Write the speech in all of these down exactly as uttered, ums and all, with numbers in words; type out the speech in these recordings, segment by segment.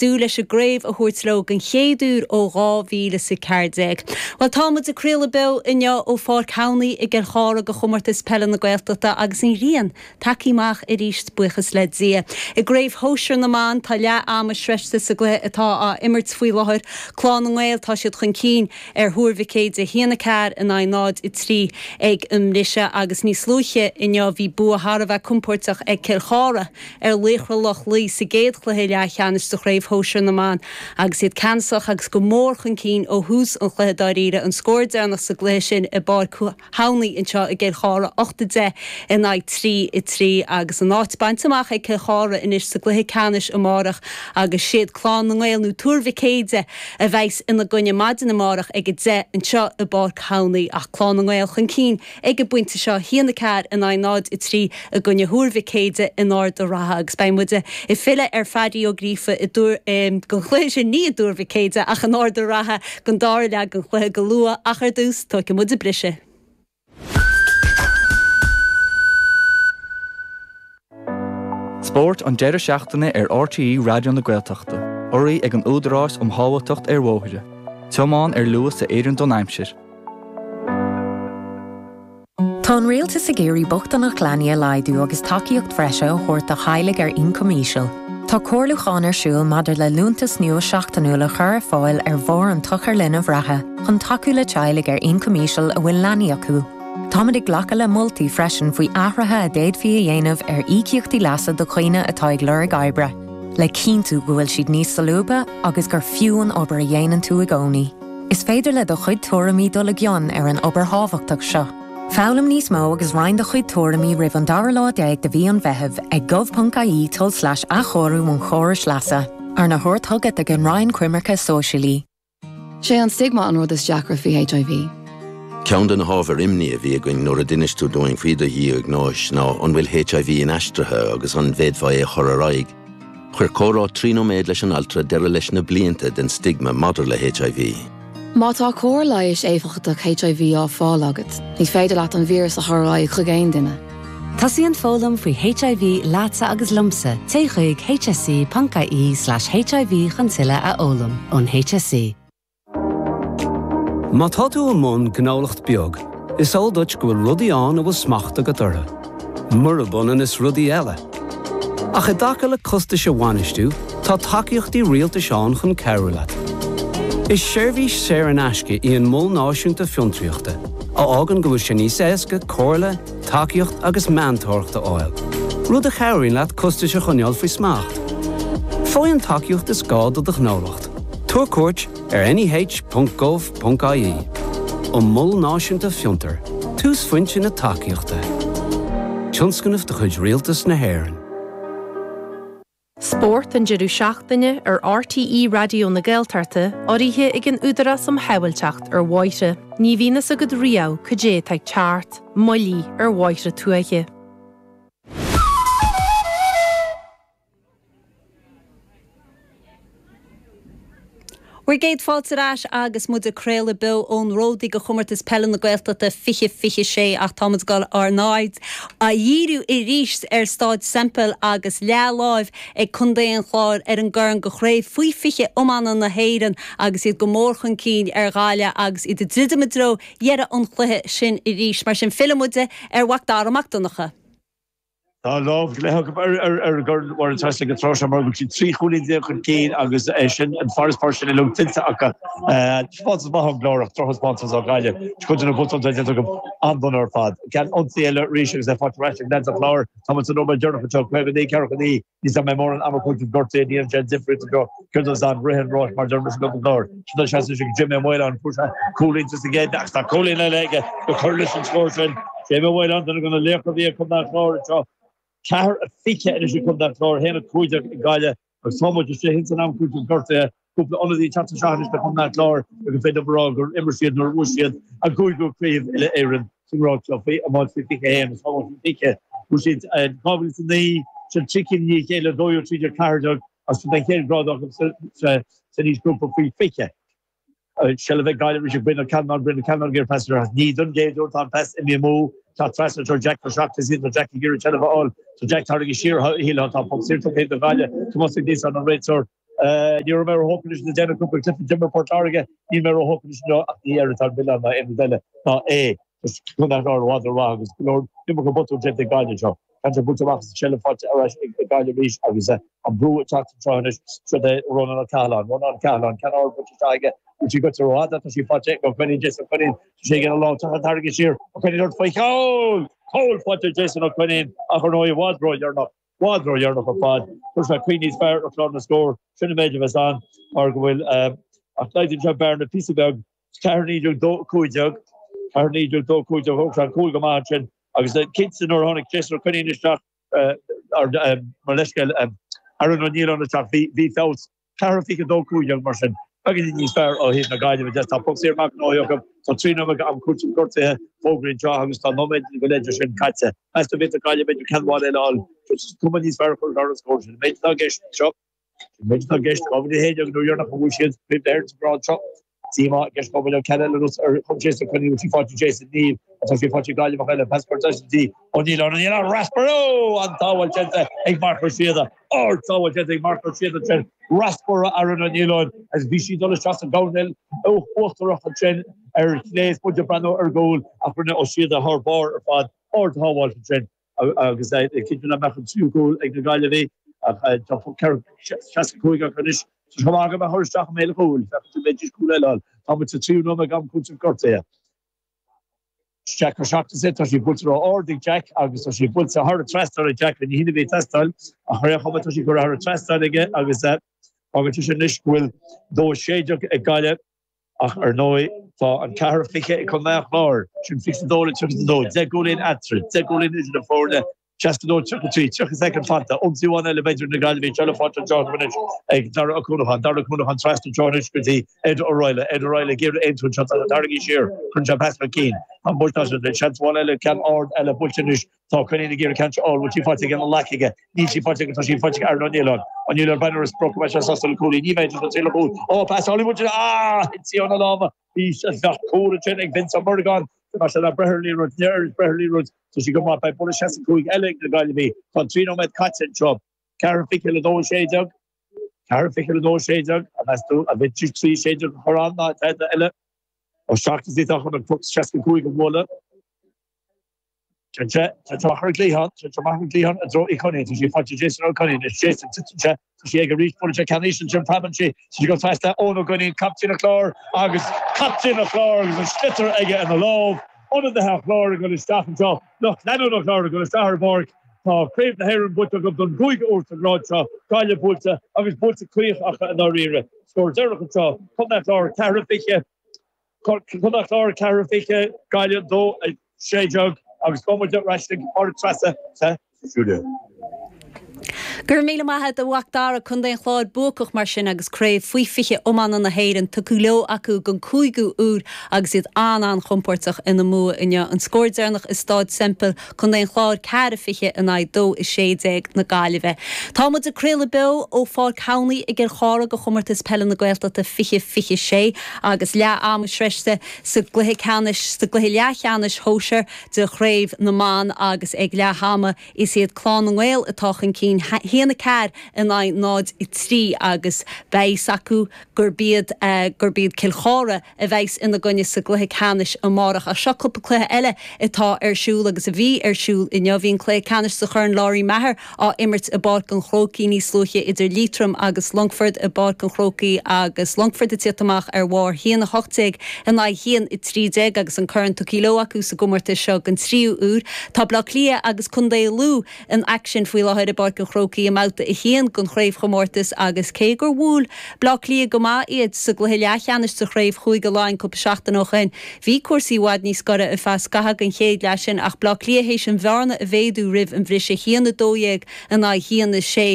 dúil leis an gcraobh a thabhairt leo den chéad uair ó dhá mhíle is a ceathair déag. Bhuel, tá muid ag craoladh beo inniu ó Pháirc Thamhnaí i gCill Chartha do chomórtas peile na Gaeltachta agus an ghrian tagtha amach arís, buíochas le Dia. I gcraobh shóisir na mban, tá leath ama sroichte sa gcluiche atá á imirt faoi láthair. Clann na nGael, tá siad chun cinn ar Thuar Mhic Éadaigh, a haon a ceathair in aghaidh náid a trí ag an mbriseadh agus níos luaithe inniu bhí bua thar a bheith compóirteach ag Cill Chartha ar Laochra Loch Lao sa gcéad chluiche leathcheannais de chraobh shóisir na mban agus iad ceannasach agus go mór chun cinn ó thús an chluiche dáiríre. An scór deireanach sa gcluiche sin i bPáirc Thamhnaí anseo i gCill Chartha, ocht a deich in aghaidh trí a trí agus an áit bainte amach ag Cill Chartha anois sa gcluiche ceannais amárach agus siad Clann na nGael nó Tuar Mhic Éadaigh a bheas ina gcoinne maidin amárach ag a deich anseo i bPáirc Thamhnaí ach Clann na nGael chun cinn ag an bpointe seo, haon a ceathair in aghaidh náid a trí i gcoinne Thuar Mhic Éadaigh in Ard an Rátha agus beidh muid ag filleadh ar Phaddy Ó Gríofa i dTuar don chluiche sin, ní i dTuar Mhic Éadaigh ach in Ard an Rátha don dara leath den chluiche go luath ach ar dtús tógfaidh muid briseadh. Spórt an deireadh seachtaine ar R T E Raidió na Gaeltachta, urraithe ag an Údarás um Shábháilteacht ar Bhóithre. Tiomáin ar luas a oireann don aimsir. Tá an rialtas ag iarraidh bochtaineacht leanaí a laghdú agus tacaíocht bhreise a thabhairt do theaghlaigh ar ioncam íseal. Tá comhairliúchán ar siúl maidir le liúntas nua seachtainiúil a chur ar fáil ar bharr an tsochair linbh reatha chun tacú le teaghlaigh ar ioncam íseal a bhfuil leanaí acu. Táimid ag glacadh le moltaí freisin faoi athruithe a d'fhéadfaí a dhéanamh ar íocaíochtaí leasa do dhaoine atá ag lorg oibre, le cinntiú go bhfuil siad níos solúbtha agus gur fiú an obair a dhéanann tú i gcónaí. Is féidir le do chuid tuairimí dul i gcion ar an obair thábhachtach seo. Foghlaim níos mó agus roinn do chuid tuairimí roimh an dara lá déag de mhí an Mheithimh ag gov Ponc I E tulslais athchóiriú an chórais leasa, arna thabhairt chugat ag an Roinn Coimirce Sóisialaí. Sé an stigma an rud is deacra faoi H I V. Ceann de na hábhair imní a bhí againn nuair a d'inis tú dúinn faoi do dhiagnóis ná an bhfuil H I V inaistrithe agus an bhféadfaí é a chur ar aghaidh. Chuir comhrá trí nóiméad leis an altra deireadh leis na blianta den stigma maidir le H I V. Má tá cóir leighis éifeachtach H I V á fáil agat, ní féidir leat an víreas a chur ar aghaidh chuig aon duine. Tosaíonn foghlaim faoi H I V leatsa agus liomsa téigh chuig H S E ponc I E slash H I V chun tuilleadh a fhoghlaim ón H S E. Má tá tú i mbun gnólacht beag, is eol duit go bhfuil rudaí ann a bhfuil smacht agat orthu. Murab ionann is rudaí eile. Ach i dtaca le costais a bhainistiú, tá tacaíochtaí rialtais ann chun cabhrú leat. Is seirbhís saor in aisce í an Mol Náisiúnta Fiontraíochta, a fhágann go bhfuil sé níos éasca comhairle, tacaíocht agus meantóireacht a fháil. Rud a chabhraíonn leat costais a choinneáil faoi smacht. Faigh an tacaíocht is gá do do ghnólacht. Tabhair cuairt ar N E H ponc gov ponc I E. An Mol Náisiúnta Fiontar, túsphointe na tacaíochta. Tionscnamh de chuid Rialtas na hÉireann. Spórt an deireadh seachtaine ar R T E Raidió na Gaeltachta urraithe ag an Údarás um Shábháilteacht ar Bhóithre. Ní bhíonn a fhios agat riamh cad é atá ag teacht, moilligh ar bhóithre tuaithe. Bhur gcéad fáilte ar ais agus muid ag craoladh beo ón Ródaí do chomórtas peile na Gaeltachta fiche fiche sé ach táimid ag dul ár n-aird a dhíriú arís ar Staid Semple agus leathláimh ag Contae an Chláir ar an gcorn do chraobh faoi fiche iomána na hÉireann agus iad go mór chun cinn ar Ghaillimh agus iad ag druidim i dtreo dheireadh an chluiche sin arís. Mar sin filleann muid ar Mhac Dara Mac Donncha. Tá lámh le ar ar gur war an trasna go tráth mar go trí chúilín déag chun cinn agus é sin an farasbarr sin le tuillte acu. Spátas maith an glórach drochspátas ó Ghaillimh. Chuid na botún go an-dona ar fad. Ceann ionsaí eile arís agus é faighte ar ais ag leaids an Chláir Tá san nóiméad deireanach seo caoga naoi ceathracha naoi ní mé mór an amú gortaithe ní an sé difríocht go cur an rith an ráis mar deir go glór. Sin sé Jimmy Moylan cúilín sa gcéad ach tá cúilín eile aige go chur leis an scór sin. Jimmy Moylan duine de na laochra bhí chun an chlár seo. Ceathair a fiche anois chun an chlár haon a cúig ag Gaillimh agus tá muid istigh san am cúiteamh gortaithe cúpla ionadaí teacht isteach chun an chlár agus féidir rá gur imir siad nuair a siad a gcúigiú craobh uile Éireann san rá seo faoi iomáint faoi fiche haon fiche. Bhuaigh siad dhá mhíle is naoi sin trí cinn ní chéile dó trí ceathair agus den chéad grád san aoisghrúpa faoi fiche. Se bheith Gaillimh ri Brian Callanan Brian Callanan gur pas ní don géadú tá pas i mí tá trasna tar Jack seach is Jack gur te fháil so Jack tar siar hí tá pop siar do Ghaillimh Tomás níos an réiteoir Ní raibh mé róthógtha leis na déanamh cúpla cluiche d'imir Port Láirge, níl mé róthógtha leis inniu ach ní air atá an milleán ná aon rud eile ná é. Contae an Chláir i bhfad rómhaith agus go leor iomarca botún déanta ag Gaillimh anseo. Ceann seo buailte amach as an tseilbh faighte ar ais ag Gaillimh arís agus an brú ag teacht anseo anois. Seo é Rónán Ó Cathaláin. Rónán Ó Cathaláin, ceann ard buailte isteach aige. Bhfuil sí goite rófhada? Tá sí faighte ag Ó Coinín, Jason Ó Coinín. Tá sé ag an lámh tá an tarraingthe siar. Ó Coinín ort faoi chúl! Cúl faighte ag Jason Ó Coinín ach ar ndóigh i bhfad ródheireanach. I bhfad ródheireanach ar fad. Chuir sé caoi níos fearr ar chlár na scór. Sin an méid a bheas ann mar go bhfuil ach laghdaíonn sé an bearna píosa beag. Ceathair naoi déag dó cúig déag. Ceathair naoi déag dó cúig déag. Thóg sé an cúl go maith ansin agus cinnte nuair a tháinig Jason Ó Coinín isteach mo leithscéal Aaron Ó Nialláin isteach bhí feabhas. Ceathair fiche dó cúig déag mar sin. Beagáinín níos fearr ó thaobh na Gaillimhe de. Tá poc saor amach gnóthaithe acu. Tá trí nóiméad am cúitimh gortaithe fógraithe anseo agus tá nóiméad go leith de sin caite. Meas tú an bhféadfadh Gaillimh b'fhéidir ceann amháin eile a fháil? Cuma níos fearr a chur ar an scór sin. An méid atá i gceist anseo, an méid atá i gceist, dhá mhíle a haon déag an uair dheireanach a bhuaigh siad Craobh na hÉireann sa ghrád seo. Díomá i gceist go bhfuil an ceann eile anuas ar chum Jason Ó Coinín, bhfuil sí faighte Jason? Níl, tá sí faighte ag Gaillimheach eile, pas curtha go dtí Ó Nialláin, Ó Nialláin, raspar ó! An tsábháil déanta ag Marc Ó Síoda, ard-sábháil déanta ag Marc Ó Síoda ansin, raspar ó Aaron Ó Nialláin agus bhí sí ag dul isteach sa gcoirnéal uachtarach ansin ar chlé is muid ag breathnú ar an gcúl ach rinne Ó Síoda thar barr ar fad, ard-shábháil ansin. Agus cinnte nach mbeadh an tríú cúl ag na Gaillimhigh ach tá ceithre seasca cúig acu anois. Tá sé chomh maith agam a chur isteach i mbéal an chúil, féachaint an bhféadfaidís cúl eile a fháil. Tá muid sa tríú nóiméad am cúitimh gortaithe. Jack Ó Seachnasaigh, tá sí buailte ró-ard ag Jack agus tá sí buailte thar an trasnán ag Jack, ní hin a bhí ag teastáil ach ar aon chuma tá sí curtha thar an trasnán aige agus fágann sé sin anois go bhfuil dó a sé déag ag Gaillimh. Ach ar ndóigh, tá an ceathair fiche ag Contae an Chláir, sin fiche a dó le tríocha a dó, deich gcúilín eatarthu, deich gcúilín idir na foirne, seasca a dó tríocha a trí, tríocha soicind fanta, ionsaí amháin eile b'fhéidir ag na Gaillimhigh, seilbh faighte anseo acu anois ag Dara Ó Cuanacháin, Dara Ó Cuanacháin trasna anseo anois go dtí Ed O'Reilly, Ed O'Reilly ag iarraidh aontú anseo, tá sé tarraingthe siar, cuireann sé pas chun cinn, tá an buailte as, seans amháin eile, ceann ard eile buailte anois. Tá Coinín ag iarraidh ceann seo a fháil, bhfuil sí faighte aige an leac aige? Níl sí faighte aige, tá sí faighte ag Aaron Ó Nialláin. Ó Nialláin breathnú ar a sprioc, an mbeidh sé sásta le cúilín? Ní bheidh, tá sé le cúl. Ó, pas álainn buailte, ah! Thit sí óna lámha. Bhí bheadh cúl ansin ag Vince Ó Muireagáin. Tá sé le breith ar an liathróid, níor éirigh breith ar an liathróid. Tá sí go maith, beidh buille seasca cúig eile ag na Gaillimhigh. Tá trí nóiméad caite anseo. Ceathair fiche le dó a sé déag. Ceathair fiche le dó a sé déag. An meas tú an bhféadfaidís trí sé déag a chur ann ná tada eile? Ó seacht is tá chun an poc seasca cúig a bhualadh. Téann sé amach ar an gcliathán, téann sé amach ar an gcliathán i dtreo Uí Choinín, tá sí faighte ag Jason Ó Coinín, is Jason, titeann sé, tá sí aige arís, buaileann sé ceann íseal ansin, preabann sí, tá sí ag dul trasna, Eoin Ó Coinín, captaen an Chláir agus captaen an Chláir agus an sliotar aige ina lámh, ionadaithe an Chláir ag dul isteach anseo, lucht leanúna an Chláir ag dul isteach ar an bpáirc, tá Craobh na hÉireann buaite acu don gcúigiú huair sa ghrád seo, Gaillimh buailte agus buailte caoch acu i ndáiríre. Scór deireanach anseo, Contae an Chláir ceathair fiche. Contae an Chláir ceathair fiche, Gaillimh dó a sé déag agus gabhfaidh muid ar ais chuig Pádraig Treasa sa stiúideo. Go raibh míle maith agat a Mhac Dara, Contae an Chláir buacach mar sin agus craobh faoi fiche iomána na hÉireann tugtha leo acu don cúigiú uair agus iad an-an-chompóirteach ina mbua inniu. An scór deireanach i Stáid Semple, Contae an Chláir ceathair fiche in aghaidh dó a sé déag na Gaillimhe. Tá muid ag craoladh beo ó Pháirc Thamhnaigh i gCill Chartha do Chomórtas Peile na Gaeltachta fiche fiche sé agus leath ama sroichte sa gcluiche ceannais, sa gcluiche leathcheannais shóisir de Chraobh na mBan agus ag leath ama is iad Clann na nGael atá chun cinn, haon a ceathair in aghaidh náid a trí agus beidh fhios acu gurb iad gurb iad Cill Chartha a bheas ina gcoinne sa gcluiche ceannais amárach. Ach seo cúpla cluiche eile atá ar siúl agus a bhí ar siúl inniu. Bhí an cluiche ceannais sa Chorn Lory Meagher á imirt i bPáirc an Chrócaigh níos luaithe idir Liatroim agus Longfort i bPáirc an Chrócaigh agus Longfort ag tíocht amach ar bharr haon a hocht déag in aghaidh haon a trí déag agus an corn tugtha leo acu sa gcomórtas seo den tríú huair. Tá Bleá Cliath agus Contae Lú in aicsean faoi láthair i bPáirc an Chrócaigh i mbabhta a haon den chraobhchomórtas agus cé gur bhuail Bleá Cliath go maith iad sa gcluiche leathcheannais de chraobh Chúige Laighean cúpla seachtain ó shin, bhí cúrsaí i bhfad níos gaire ar feadh scaitheamh den chéad leath sin ach Bleá Cliath théis an bhearna a mhéadú roimh an bhriseadh, haon a dó dhéag in aghaidh haon a sé.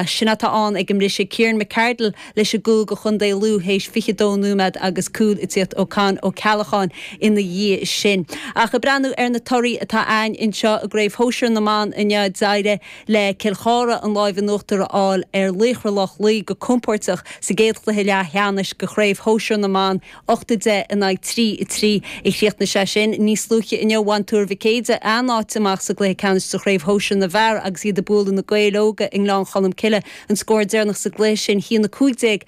Sin atá ann ag an mbriseadh. Kieran McArdle leis an gcúl do chontae Lú théis fiche dó nóiméad agus cúl ag tíocht ó Con Ó Ceallacháin ina dhiaidh sin. Ach ag breathnú ar na torthaí atá againn anseo i gCraobh Shóisir na mBan inniu, d'éirigh le Cill Chartha Dara an láimh in uachtar a fháil ar Laochra Loch Lao go compordach sa gcéad chluiche leathcheannais de chraobh shóisir na mban ocht a deich in aghaidh trí a trí a chríochnaigh sé sin. Níos luaithe inniu bhain Tuar Mhic Éide a n-áit amach sa gcluiche ceannais sa chraobh shóisir na bhfear agus iad ag bualadh na Gaeil Óga i nGleann Cholm Cille an scór deireanach sa gcluiche sin haon a cúig déag